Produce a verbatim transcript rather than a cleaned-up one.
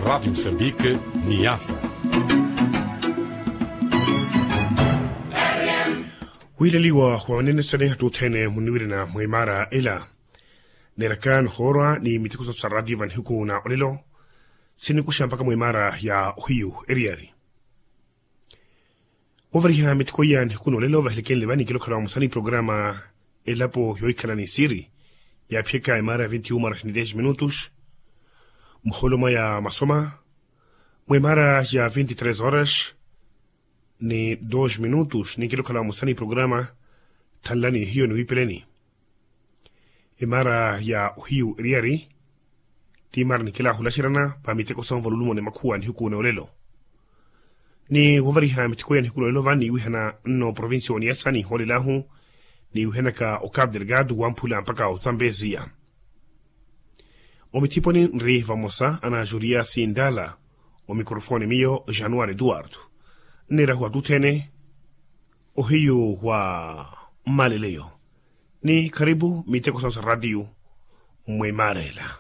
Ratu msambike. Niyasa. Wiileliwa wa manene sene attuthene muniwirina mwimaara ela. Neeraka nihoorwa ni miteko sa radio vanihiku na olelo. Sinikuxa mpaka mwimaara ya ohiyu eriyari. Wovariha miteko iya nihiku na olelo vahelekenle vani kilokhela wa musani programa elapo yoohikhala ni siri. Yaaphiyaka emaara ya vinti uma horas ni dez minutos. Muholoma ya masoma mwemaara ya vinti tres horas ni dos minutos ninkilokhala wa musani programa. Thanlani hiyo ni wipeleni emaara ya ohiyu eriyari. Ti maara ninkilahulaxeryana pa miteko sa ovalulumo ni makhuwa nihiku na olelo. Ni wovariha miteko ya nihiku na olelo vani niwihana nno provincia oniyasa niholelahu niwihanaka o cape delgado wamphula mpaka o zambezia. Omithiponi nri vamosa ana julia sindala. Omikrofoni miyo januari eduardo. Nniirahu attuthene ohiyu wa mmaleleyo. Ni kharipu miteko sa sa radio. Mwimaarela.